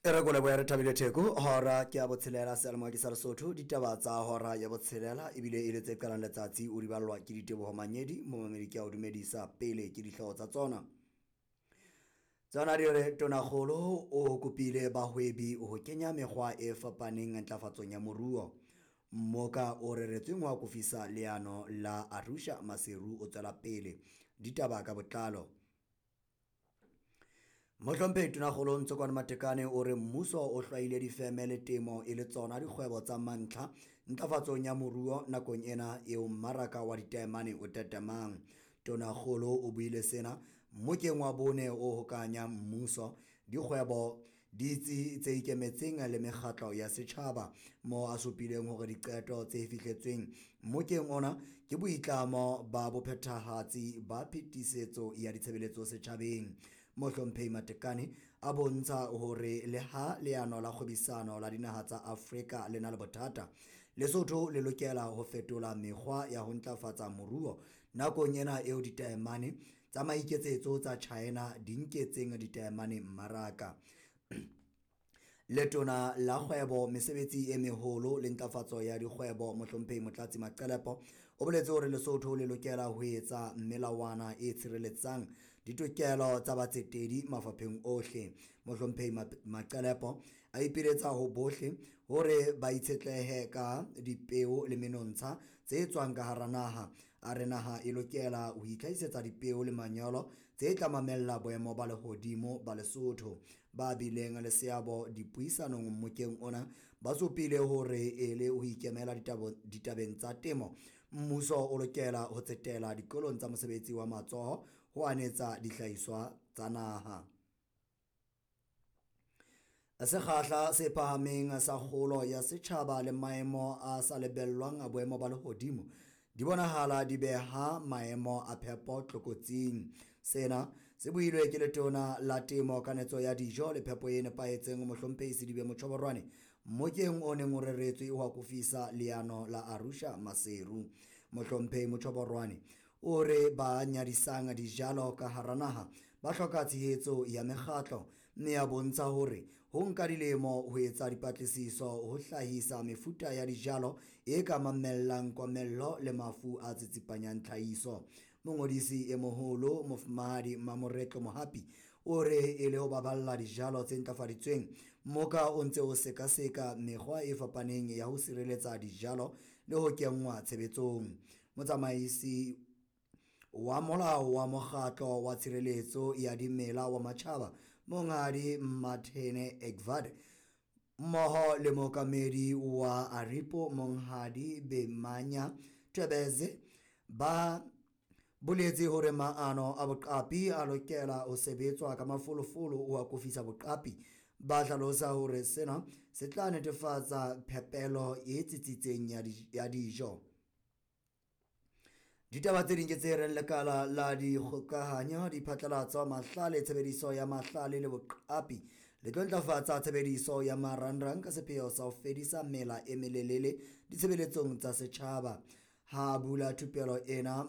E re ko lebohe re thabile Theko hora ke ya botshelela seyalemoya ke sa Lesotho ditaba tsa hora ya botshelela ebile e le tse qalang letsatsi o di ballwa ke Diteboho Manyedi momamedi ke a o dumedisa pele ke dihlooho tsa tsona. Tsona di re Tonakgolo o kopile bahwebi ho kenya mekgwa e fapaneng ntlafatsong ya moruo. Mmoka o reretsweng ho akofisa leano la Arusha Maseru o tswela pele. Ditaba ka botlalo. Mohlomphehi Tonakgolo Ntsokoane Matekane o re mmuso o hlwaile difeme le temo e le tsona dikgwebo tsa mantlha ntlafatsong ya moruo nakong ena eo mmaraka wa ditaemane o tetemang. Tonakgolo o buile sena mmokeng wa bone o hokahanyang mmuso, dikgwebo, ditsi tse ikemetseng le mekgatlo ya setjhaba moo a supileng hore diqeto tse fihletsweng mmokeng ona ke boitlamo ba bophethahatsi ba phetisetso ya ditshebeletso setjhabeng. Mohlomphehi Matekane a bontsha hore le ha leano la kgwebisano la dinaha tsa Afrika le na le bothata, Lesotho le lokela ho fetola mekgwa ya ho ntlafatsa moruo nakong ena eo ditaemane tsa maiketsetso tsa China di nketseng ditaemane mmaraka. Letona la Kgwebo, Mesebetsi e Meholo le Ntlafatso ya Dikgwebo Mohlomphehi Motlatsi Maqelepo o boletse hore Lesotho le lokela ho etsa melawana e tshireletsang ditokelo tsa batsetedi mafapheng ohle. Mohlomphehi Maqelepo a ipiletsa ho bohle hore ba itshetlehe ka dipeo le menontsha tse tswang ka hara naha. A re naha e lokela ho itlhahisetsa dipeo le manyolo tse tla mamella boemo ba lehodimo ba Lesotho. Ba bileng le seabo dipuisanong mmokeng ona ba supile hore e le ho ikemela ditabeng tsa temo, mmuso o lokela ho tsetela dikolong tsa mosebetsi wa matsoho ho anetsa dihlahiswa tsa naha. Sekgahla se phahameng sa kgolo ya setjhaba le maemo a sa lebellwang a boemo ba lehodimo di bonahala di beha maemo a phepo tlokotsing. Sena se builwe ke Letona la Temo, Kanetso ya Dijo le Phepo e Nepahetseng Mohlomphehi Sedibe Motjhoborwane mmokeng o neng o reretswe ho akofisa leano la Arusha Maseru. Mohlomphehi Motjhoborwane o re ba nyadisang dijalo ka hara naha ba hloka tshehetso ya mekgatlo mme a bontsha hore ho nka dilemo ho etsa dipatlisiso ho hlahisa mefuta ya dijalo e ka mamellang komello le mafu a tsitsipanyang tlhahiso. Mongodisi e moholo Mofumahadi Mamoretlo Mohapi o re e le ho baballa dijalo tse ntlafaditsweng, mmoka o ntse o sekaseka mekgwa e fapaneng ya ho sireletsa dijalo le ho kenngwa tshebetsong. Motsamaisi wa molao wa mokgatlo wa tshireletso ya dimela wa matjhaba Monghadi Martin Egbert mmoho le mookamedi wa Aripo Monghadi Bemanya Twebeze ba boletse hore maano a boqapi a lokela ho sebetswa ka mafolofolo ho akofisa boqapi. Ba hlalosa hore sena se tla netefatsa phepelo e tsitsitseng ya dijo. Ditaba tse ding ke tse reng lekala la dikgokahanyo, diphatlalatso, mahlale, tshebediso ya mahlale le boqapi le tlo ntlafatsa tshebediso ya marangrang ka sepheo sa ho fedisa mela e melelele ditshebeletsong tsa setjhaba. Ha bula thupelo ena